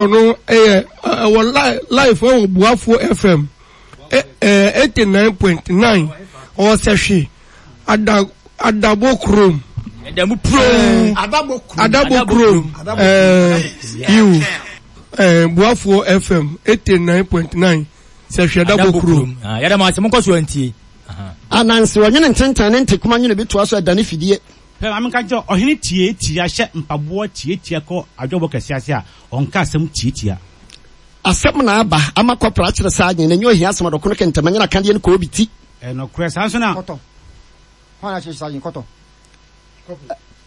No yɛ ɛwɔ live ɛwɔ Buafoɔ FM 89.9 ɔwɔ sɛhwe ada adabo kurom. Adamu kurom. Adabo kurom. Adabo kurom. Ɛɛ yiw ɛɛ Buafoɔ FM 89.9 sɛhwe adabo kurom. Yɛda mo ase mo nkɔ so antie. Ananse ɔnwene ntentan ne ntekoma nwene bi toa so ɛdane fidie. Hwɛ, ma menka nkyerɛ wo, ɔhene tiatia hyɛ mpaboa tiatia kɔ adwabɔ kɛse ase a, ɔnka asɛm tiatia. Asɛm na aba ama kɔpra akyerɛ saa adwene no, ɛnyɛ ohia asɛm, ɔdɔkono kɛntɛm, ɛnyɛ n'akadeɛ no koobi ti. Ɛyɛ nokorɛ, saa nso na. Kɔtɔ. Hwan na akyerɛ saa adwene? Kɔtɔ.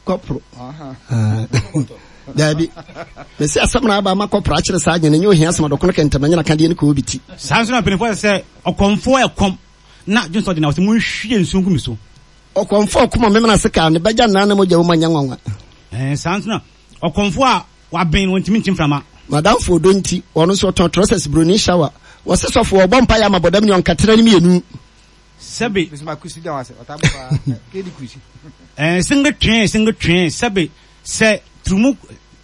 Kɔpro. Daabi. Mese asɛm na aba ama kɔpra akyerɛ saa adwene no, ɛnyɛ ohia asɛm, ɔdɔkono kɛntɛm, ɛnyɛ n'akadeɛ no koobi ti. Saa nso na mpanimfoɔ sɛ sɛ ɔkɔmfoɔ ɛkɔm na dwonsɔ de na wɔsɛ monhwie nsuo ngu me so. Ɔkɔmfoɔ a ɔkoma memene ase kaa ne bɛgya nnan na mogya wom anyɛ nwanwa. Ɛɛ, saa nso na ɔkɔmfoɔ a waben no, ɔntumi nkye mframa. M'adamfo ɔdɔ nti, ɔno nso ɔtɔn trɔsɛs broni shower. Wɔse sɔfo ɔbɔ mpaeɛ ama bɔdam ni ɔnka tena ne mmienu. Sɛbe. Ɛɛ, singe twee, singe twee, sɛbe, sɛ turumu,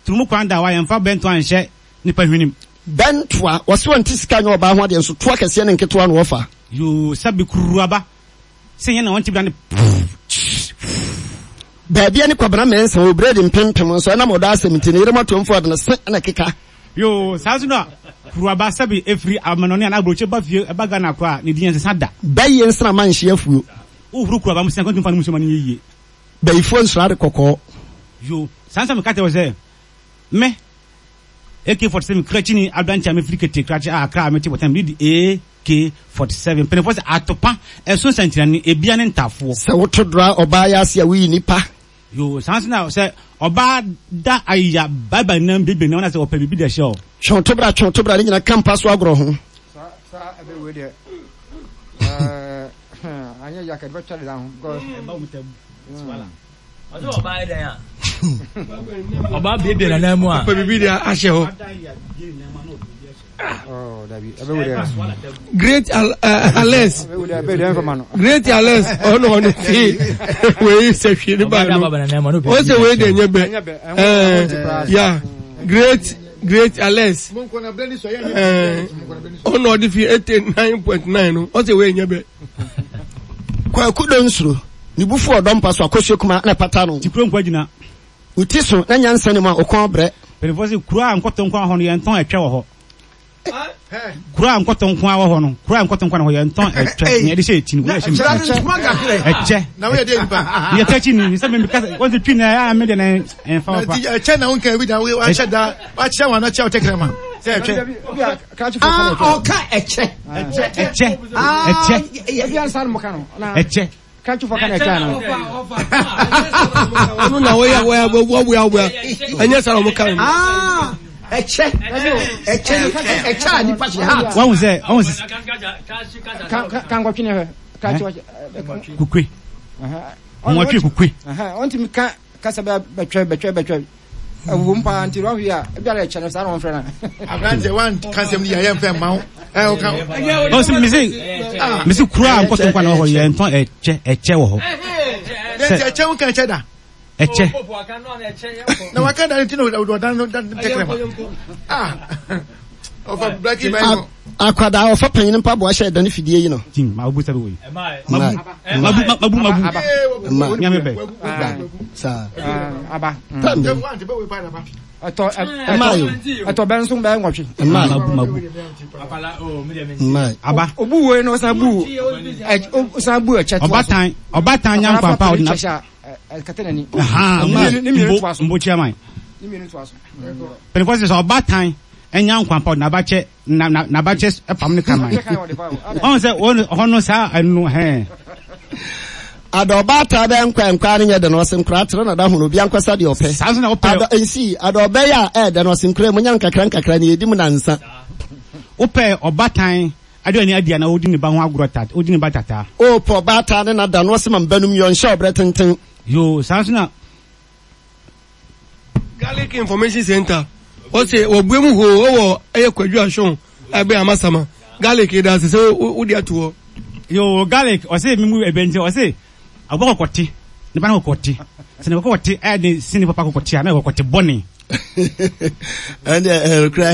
turumu kwan da hɔ a, yɛmfa bɛntoa nhyɛ nipa hwenem. Bɛntoa, wɔse ɔnte sika nyɛ ɔbaa ho adeɛ nso toa kɛseɛ ne nketewa na ɔfa. Yoo, sɛbe kururuaba. Sɛ yɛn na wɔn tebea no Baabi ne Kwabena Mensah wɔ bredi mpempem nso ɛnam ɔdɔ asɛm nti ne yere mɔtoamfo de ne se na ɛkeka. Yoo, saa nso na kuruaba sɛbe efiri amanɔne anaa aburokyi ba fie ɛba Ghana koraa a, ne din ɛnsesa da. Bɛyɛ nsramma nhye afuo. Wohuru kuruaba mu sɛ nka ntumi mfa no mu nsuo ma no nyɛ yie. Bayifoɔ nsuro ade kɔkɔɔ. Yoo, saa nso na meka kyerɛ wo sɛ, me, AK-47 krakyini aberanteɛ a mefiri Kete Krakye a Accra a mete Bɔtan mede di AK-47 mpanimfoɔ sɛ atopa ɛso nsɛnkyerɛnne ebia ne ntafoɔ. Sɛ woto dora ɔbaa yɛ ase a woyi nipa. Yoo saa nso na sɛ ɔbaa da ayeya baibai nam biebie nam na sɛ ɔpɛ biribi de ahyɛ ɔ. Twe to bra twe to bra ne nyina ka mpa so agorɔ ho. Saa saa ɛbɛ wei deɛ ɛɛ anyɛ yaka de bɛtwa deda ho because. Ɛba wɔn tɛ tiwala. Ɔsɛ ɔbaa yɛ dɛn a? Ɔbaa biebie nanan mu a. Ɔpɛ biribi de ahyɛ hɔ. Great Alex. Great Alex ɔno ɔno fi wei sɛ hwee ne ba no. Ɔsɛ wei de nyɛ bɛ. Ɛɛ ya great great Alex. Ɛɛ ɔno ɔde fi 89.9 no ɔsɛ wei nyɛ bɛ. Kwaku dɔ nsuro, ne bo fu ɔdɔ mpa so, akosua kumaa na ɛpata no. Ti kuro nkwa gyina. Wo ti so na nyansa nni mu a, wo kɔn brɛ. Mpanimfoɔ se kuro a nkɔtɔ nko ara wɔ hɔ no yɛntɔn ɛtwɛ wɔ hɔ. Kuro a nkɔtɔ nko ara wɔ hɔ no, kuro a nkɔtɔ nko ara wɔ hɔ yɛntɔn ɛtwɛ. Nea yɛde hyɛ ti no, wei ɛhyɛ me ti. Ɛkyɛ. Na woyɛ deɛ nipa. Yɛ kɛ kyi ni, sɛ me kasa, wɔn ti twi na ɛyɛ a me deɛ na ɛnfa papa. Ɛkyɛ na wonka bi da, wahyɛ da, wakyɛ wɔn anakyɛ wo tɛkrɛma sɛ ɛtwɛ. Ah, ɔka ɛkyɛ. Ɛkyɛ. Ɛkyɛ. Ɛkyɛ. Ɛkyɛ. Ɔno na wɔyɛ wɔyɛ wɔwia wɔwia ɛnyɛ saa na wɔn ka no. Ah, ɛkyɛ. Ɛkyɛ ɛkyɛ a nipa hyɛ hat. Wɔn sɛ wɔn sɛ. Kankɔtwe ne hwɛ. Kukue. Wɔtwe kukue. Wɔn ti mi ka kasa bɛ bɛtwɛ bɛtwɛ bɛtwɛ. Ɛwom paa nti wɔn hwɛ a ebi ara ɛkyɛ no saa na wɔn frɛ no. Aberanteɛ wan ka sɛm ni yɛ yɛn fɛ mma wo. Ɛ o ka. Ɔsi misi misi kura a nkɔtɔ nkwa na wɔ hɔ yɛn tɔn ɛkyɛ ɛkyɛ wɔ hɔ. Sɛ ɛkyɛ wo ka ɛkyɛ da. Ɛkyɛ. Na waka da ti na ɔdan no da tɛkrɛ ma. Ah. Ɔfa blaki bɛn no. Akwadaa ɔfa panyin mpaboa hyɛ ɛdan fidie yi no. Jim ma obu sɛbi wei. Mabu mabu mabu mabu. Ma Nyame bɛ. Ba saa. Aba. Tam bɛ. Ɛtɔ Mmaa yo. ɛtɔ bɛ nso bɛ nwɔtwe. Mmaa Mabu mabu. Mmaa. Aba. Obu wei no ɔsan bu ɔsan bu ɛkyɛ to aso. Ɔbatan ɔbatan nya nkwa pa ɔde na. Ɛkata n'ani. Ahan mbo mbo chairman. Ne mmienu to aso. Panyinfoɔ sɛ sɛ ɔbatan nya nkwa pa ɔde n'abakyɛ na na n'abakyɛ fam ne kraman. Ɔn sɛ wɔn hɔ no saa ɛno hɛn. Ada ɔbaatan bɛ nkwa nkwa no nyɛ dɛ na ɔse nkora tere na da hono obi ankɔsa deɛ ɔpɛ. Saa nso na wopɛ. Ada nsi ada ɔbɛyɛ a ɛɛdɛ na ɔse nkora mu nya nkakra nkakra ne yɛdi mu nansa. Wopɛ ɔbatan aduane adi anaa wodi ne ba ho agorɔ tat wodi ne ba tataa. Wopɛ ɔbaatan ne nada na ɔse ma mba num yɔ nhyɛ ɔbrɛ tenten. Yoo saa nso na. Garlic Information Center ɔsɛ wɔbue mu hoo ɔwɔ ɛyɛ Kwadwo Ashon ɛbɛn Amasama garlic yɛda ase sɛ wode ato hɔ. Yoo garlic ɔsɛ mi mu ɛbɛn nti ɔsɛ aboa kɔkɔte ne ba no kɔkɔte sɛ ne kɔkɔte ɛyɛ den sene papa kɔkɔte a na kɔkɔte bɔne. Ɛnde ɛyɛ nokorɛ.